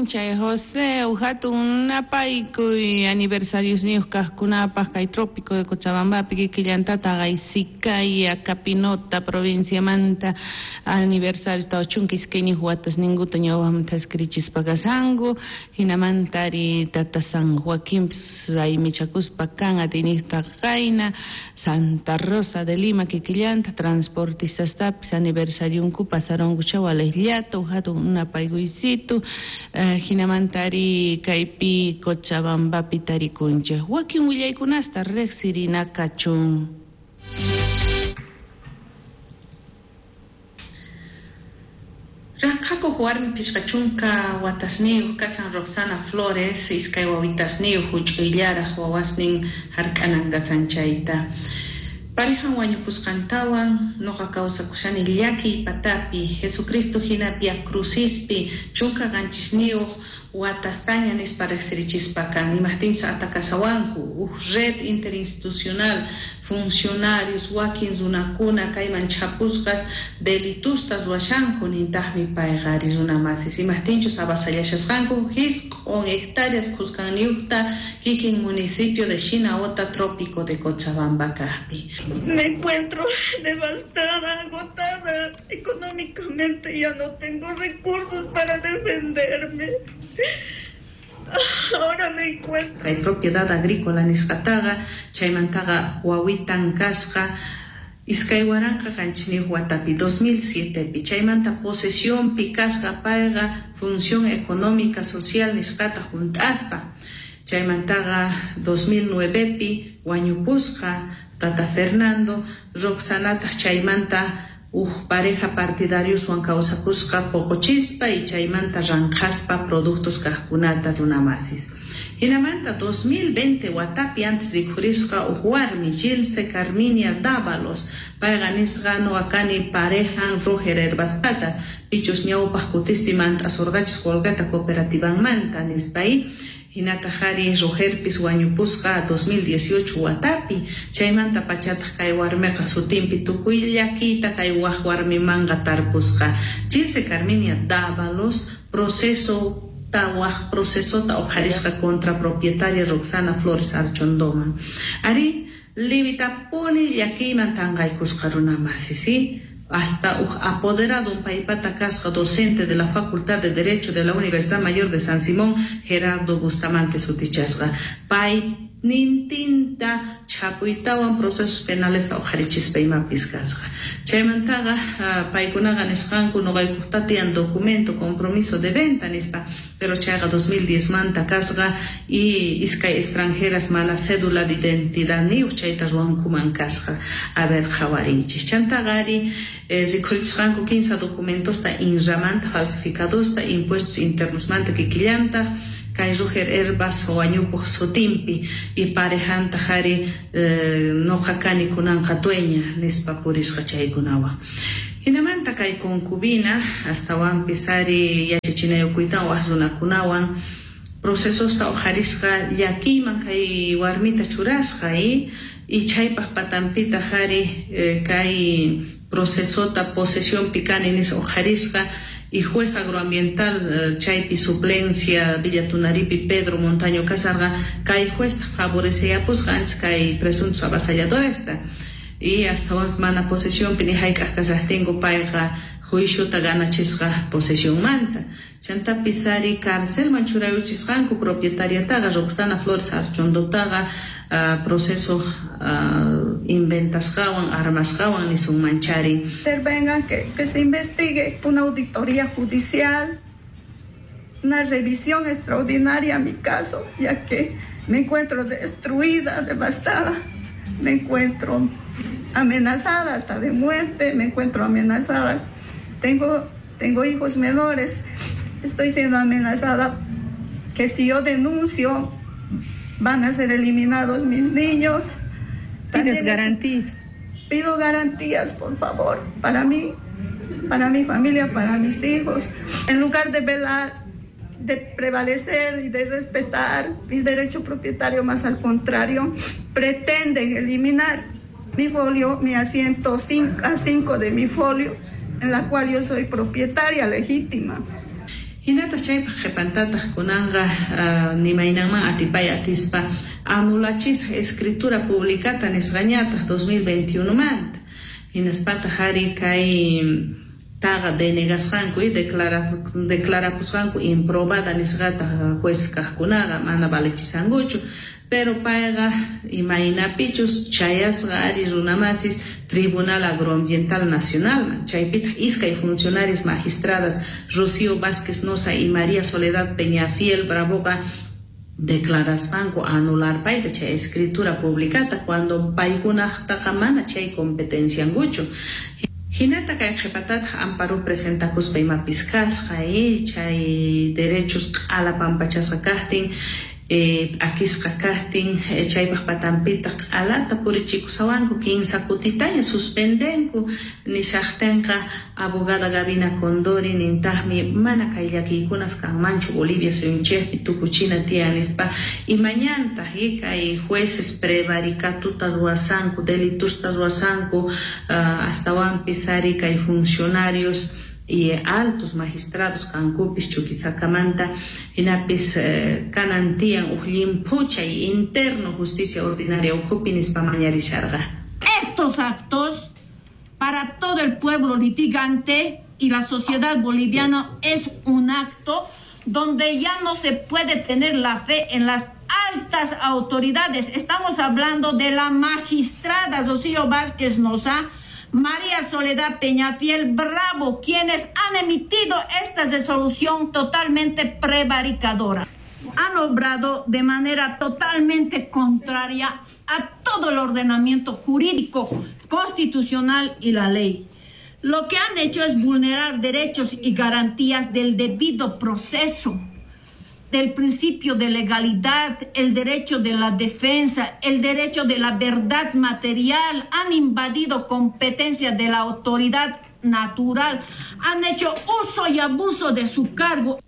p'unchay José, hatun napaykuy aniversariosniyuq kaqkunapaq kay trópico de Cochabambapi kikillantata Sicaya, Capinota provinciamanta aniversario 42 watasninkuta ñawpaqmanta thaskirichispa kashanku, hinamantari tata San Joaquín raymichakuspa kan atiyniqta qayna Santa Rosa de Lima kikillanta transportistastapis aniversarionku pasarunku chawalejllata hatun napaykuysitu hinamantari kaypi Cochabambapi tarikunchik wakin willaykunasta riqsirina kachun. Ranqhakuq warmi 50 watasniyuq kashan Roxana Flores, iskay wawitasniyuq huch'uyllaraq wawasnin hark'anan kasan chayta. Parejan wañupusqantawan nuqa kawsakushani llakiy patapi Jesucristo hina Via Crucispi 17 watastaña nispa riqsirichispa kan imaqtinchus atakasawanku uj red interinstitucional funcionarios wakin runakuna kayman chhapusqas delitustas ruwashanku nintaqmi payqa ari runa masis imaqtinchus avasallashasqanku 9 hectáreas khusqanniyuqta kikin municipio de Shinaota, trópico de Cochabamba kaqpi. Me encuentro devastada, agotada económicamente, ya no tengo recursos para defenderme. Ahora me encuentro. Kay propiedad agrícola nisqataqa chaymantaqa wawitan kasqa 2007 watapi 2007pi chaymanta posesionpi kasqa payqa función económica social nisqata hunt'aspa chaymantaqa 2009pi wañupusqa tata Fernando Roxanataq chaymanta uj pareja partidarioswan kawsakusqa poqochispa y chaymanta ranqhaspa productos kaqkunata runamasis. Hinamanta 2020 watapi antes rikhurisqa uj warmi Gilse Carminia Dávalos payqa nisqa nuqa kani parejan Roger Herbaspata pichus ñawpaq kutispi mant'asurqachis qolqeta cooperativanmanta nispay. Hinataq ari Rogerpis wañupusqa 2018 watapi chaymanta pachataq kay warmiqa sutinpi tukuy llakiyta kay waq warmimanqa tarpusqa. Gilse Carminia Dávalos proceso waq procesota uqharisqa contra propietaria Roxana Flores Archondoman. Ari levitapuni llakiyman tanqaykusqa runamasi, ¿sí? Hasta apoderado un paypata kasqa docente de la Facultad de Derecho de la Universidad Mayor de San Simón, Gerardo Bustamante sutichasqa. Pay nintinta chhapuytawan procesos penales uqharichispa imapis kasqa. Chaymantaqa paykunaqa nisqanku nuqaykuqta tiyan documento compromiso de venta nispa, pero chayqa 2010 manta kasqa y iskay extranjeras mana cédula de identidad niyuq chayta ruwankuman kasqa. A ver qhawariychis. Chantaqa ari rikhurichisqanku 15 documentosta INRAmanta falsificadosta impuestos internosmanta kikillantaq kay Roger Herbas wañupuq sutinpi y parejantaq ari nuqa kani kunanqa dueña nispa purisqa chaykunawan. Hinamanta kay concubina astawanpis ari yachachinayukuytawan waq runakunawan procesosta uqharisqa llakiyman kay warmita churasqa y chaypaq patanpitaq ari kay procesota posesionpi kani nispa uqharisqa y juez agroambiental chaypi suplencia Villa Tunaripi Pedro Montaño kasarqa kay juez favoreceyapusqa antes kay presuntos avasalladoresta y hasta mana posesionpi ni hayk'aq kasaqtinku payqa juiciota ganachisqa posesionmanta. Chantapis ari carcelman churayuchisqanku propietariataqa Roxana Flores Archondotaqa proceso inventasqawan armasqawan nisunmanchari. Intervengan, que se investigue una auditoría judicial, una revisión extraordinaria a mi caso, ya que me encuentro destruida, devastada, me encuentro amenazada hasta de muerte, me encuentro amenazada. Tengo hijos menores, estoy siendo amenazada que si yo denuncio van a ser eliminados mis niños. ¿Pides garantías? Pido garantías, por favor, para mí, para mi familia, para mis hijos. En lugar de velar, de prevalecer y de respetar mis derechos propietarios, más al contrario, pretenden eliminar mi folio, mi asiento 5 a 5 de mi folio, en la cual yo soy propietaria legítima. Hinataq chaypaq qhipantataq kunanqa nimaynanman atipay atispa anulachisqa escritura publicata nisqañataq 2021 manta. Hinaspataq ari kay taqa denegasqanku y declarapusqanku improbada nisqata juez kaqkunaqa mana valechisankuchu. Pero payqa imaynapichus chayasqa ari runamasis Tribunal Agroambiental Nacionalman. Chaypitaq iskay funcionarias magistradas Rocío Vázquez Noza y María Soledad Peñafiel Bravoqa declarasqanku anular payta chay escritura publicata cuando paykunaqtaqa mana chay competenciankuchu. Hinata kay qhipatataq amparo presentakuspa imapis kasqa chay derechos q'ala pampachasqa kaqtin p'akisqa kaqtin chaypaq patanpitaq q'alata purichikusawanku kinsa kutitaña suspendenku nishaqtinqa abogada Gabina Condori nintaqmi mana kay llakiykunas kanmanchu Bolivia suyunchikpi tukuchina tiyan nispa imañantaq kay jueces prevaricatuta ruwasanku delitusta ruwasanku astawanpis ari kay funcionarios y altos magistrados kankupis Chuquisakamanta hinapis kanan tiyan uj llimphuchay interno justicia ordinaria ukhupi nispa mañarisharqa. Estos actos para todo el pueblo litigante y la sociedad boliviana es un acto donde ya no se puede tener la fe en las altas autoridades. Estamos hablando de la magistrada Rocío Vázquez Noza, María Soledad Peñafiel Bravo, quienes han emitido esta resolución totalmente prevaricadora. Han obrado de manera totalmente contraria a todo el ordenamiento jurídico, constitucional y la ley. Lo que han hecho es vulnerar derechos y garantías del debido proceso, del principio de legalidad, el derecho de la defensa, el derecho de la verdad material. Han invadido competencias de la autoridad natural, han hecho uso y abuso de su cargo.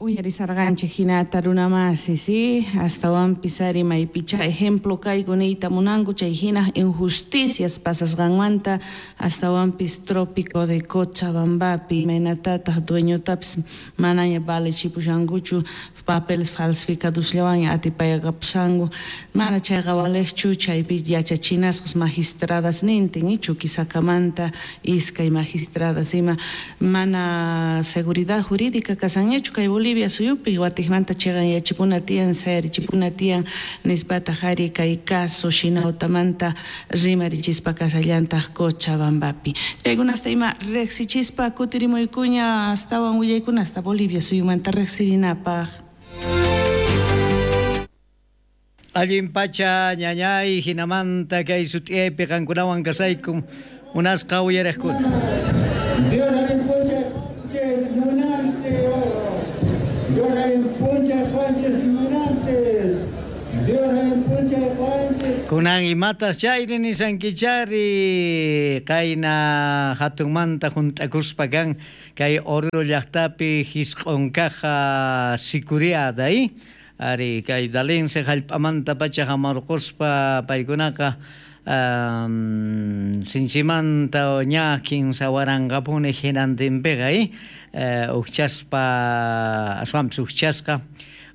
Uyarisarqanchik hinata runamasi, sí, astawanpis ari maypicha ejemplo kayku niyta munanku chay hina injusticias pasasqanmanta astawanpis trópico de Cochabambapi imaynatataq dueñotapis manaña valechipushankuchu papeles falsificadosllawanña atipayakapusanku mana chayqa valeqchu chaypi yachachinasqas magistradas nintin Chuquisakamanta iskay magistradas ima mana seguridad jurídica kasanñachu kay Bolivia suyupi watijmanta chiqan yachipuna tiyan sayarichipuna tiyan nispataq ari kay caso Shinautamanta rimarichispa kasallantaq Cochabambapi. Chaykunasta ima riqsichispa kutirimuykuña astawan willaykunasta Bolivia suyumanta riqsirinapaq. Allin pacha ñañay hinamanta kay sut'iyaypi qankunawan kasaykum munasqa uyariqkuna. Kunan imatas chayri nisankichari qayna hatunmanta junt'akuspa kan kay Oruro llaqtapi hisq'unkaqa sikuriada ari kay dalense hallp'amanta pacha hamarquspa paykunaqa sinchimanta ña kinsa waranqapuni hinantinpiqa uqchaspa aswanpis uqchasqa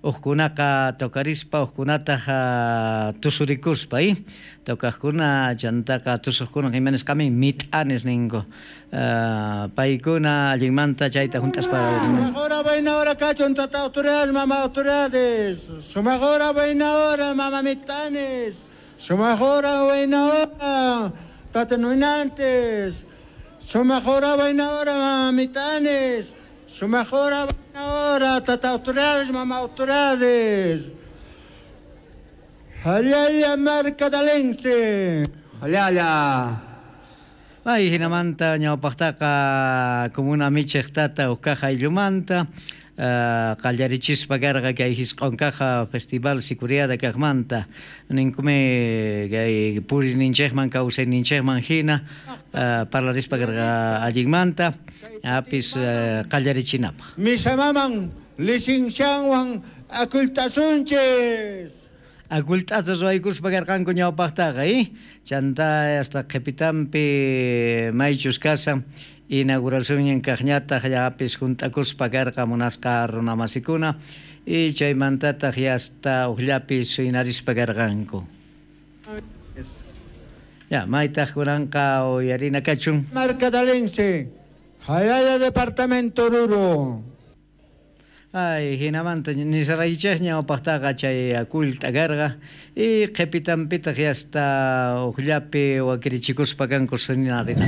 uqkunaqa tocarispa uqkunataq tusurikuspa tocaqkuna chantaqa tusuqkuna imanisqami mit'anis ninku paykuna allinmanta chayta junt'aspa. Sumaqora vaina kachun tata autoridades mama autoridades sumaqora vaina hora mama mit'anis sumaqora vaina hora tata nuinantes sumaqora vaina hora mama mit'anis sumaqora ahora tata autoridades mama autoridades Jalala marca dalense Jalala. Ay hinamanta ñawpaqtaqa comuna michiq tata uqkaqa ayllumanta qallarichispa karqa kay hisq'unkaqa festival sikuriada kaqmanta ninkumi kay puriyninchikman kawsayninchikman hina parlarispa karqa allinmanta apis qallarichinapaq. Misamaman licencianwan akultasunchis. Akult'ata ruwaykuspa karqanku ñawpaqtaqa chanta hasta qhipitanpi maychus kasan Inauguracionnin kaqñataq llapis junt'akuspa karqa munasqa runamasikuna y chaymantataq yasta uqllapis inarispa karqanku. Ya, maytaq kunanqa uyarina kachun. Marcadalense, Jayaya Departamento Oruro. Ay, hinamanta nisaraychej ñawpaqtaqa chay akullta karqa y qhipitanpitaq yasta uqllapi wakirichikuspa kanku sunarina.